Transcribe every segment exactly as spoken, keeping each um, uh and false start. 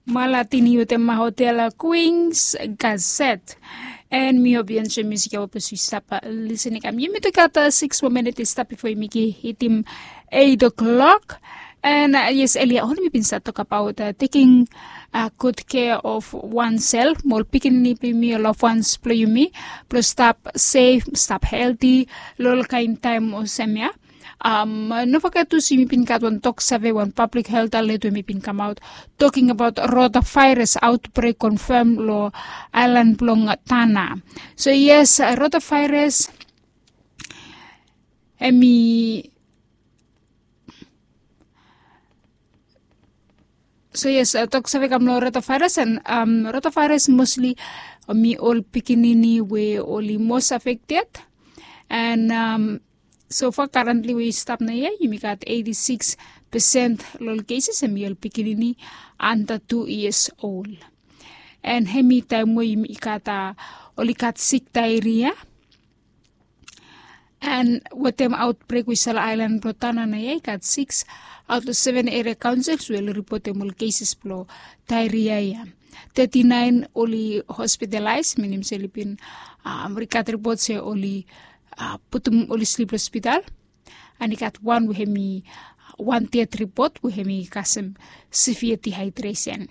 Malatini wetem Hotel Queens Gazette. En mi hope yu enjoy musik ya we ples yu stap listening kam. Yumi tu gat six more minutes i stap before yumi hitim eight o'clock. And uh, yes, earlier on mi bin start talk about uh, taking uh, good care of oneself, mo ol pikinini blong yumi, ol loved ones blong yumi, blong stap safe, stap healthy lo ol kain taem olsem ya. Um, no forget tu se yumi bin gat wan tok save, wan public health alert we mi bin kamaot talking about rotavirus outbreak confirm lo aelan blong Tanna. So yes, uh, rotavirus hemi So yes, uh, tok save kam lo rotavirus, and um, rotavirus mostly hemi ol pikinini we oli most affected. And um, so far currently we stap naoia, yumi gat eighty-six percent lo ol cases hemi ol pikinini under two years old. And hemi taem we yumi gat uh, oli gat sick diarrhea. And wetem outbreak we i stap lo aelan blong Tanna naoia, i gat six out of seven area councils we oli ripotem ol cases blo diarrhea ya. Thirty-nine oli hospitalized, minim se oli bin um, oli gat ripot se oli uh, putum oli slip lo hospital. And i gat wan we hemi wan death report we hemi kasem severe dehydration.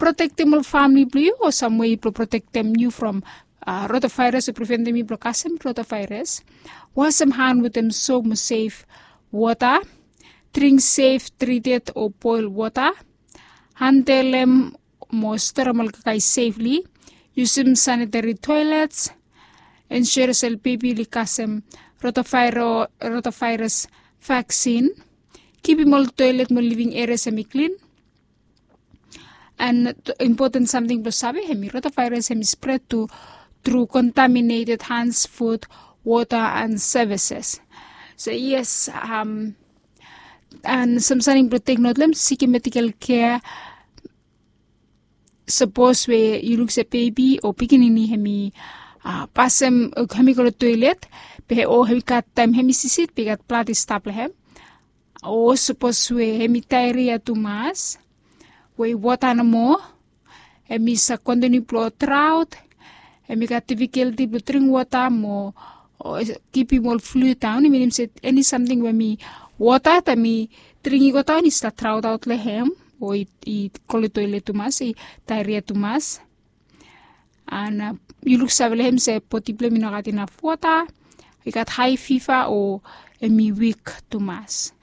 Protektem ol famili blong yu o sam wei blong protektem yu from uh, rotavirus o preventem yu blong kasem rotavirus. Wasem han wetem sop mo sef wota. Dring sef, treated o boel wota. Handelem mo storem ol kakae safely. Yusum sanitary toilets. Ensure se ol bebi oli kasem rotavirus, rotavirus vaccine. Kipim ol toilet mo living areas hemi klin. And important samting blong save, hemi rotavirus hemi spread tu tru contaminated hands, food, wota and services. So yes, um, and sam samting blong tek not lo hem, sikim medical care. Sapos we yu luk se bebi o pikinini hemi uh, pasem uh, hemi go lo toilet, be o hemi gat taem hemi sisit be i gat blad i stap lo hem, o sapos we hemi diarrhea tumas, we wota nomo, hemi save kontiniu blong drought, hemi gat difficulty blong dring wota mo kipim ol fluid daon. I minim se eni samting we hemi wota taem i dring i go daon i stap drought aot lo hem, o i go lo toilet tumas, i diarrhea tumas. And uh, yu luksave lo hem se bodi blong hem i no gat inaf wota, i gat hae fiva o hemi wik tumas.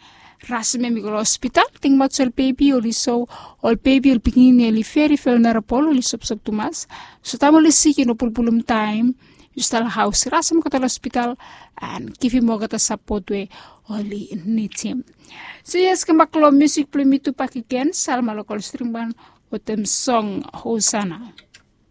Rasem hem i go lo hospital. Tingbaot se ol bebi oli so, ol bebi, ol pikinini oli very vulnerable, oli sopsop tumas. So taem oli sik i no pulpulum taem, yu stap lo haos. Rasem olgeta lo hospital and givim olgeta sapot we oli nidim. So yes, kambak lo musik blong yumi tu bakegen, Salma Local String Band wetem song Hosanna.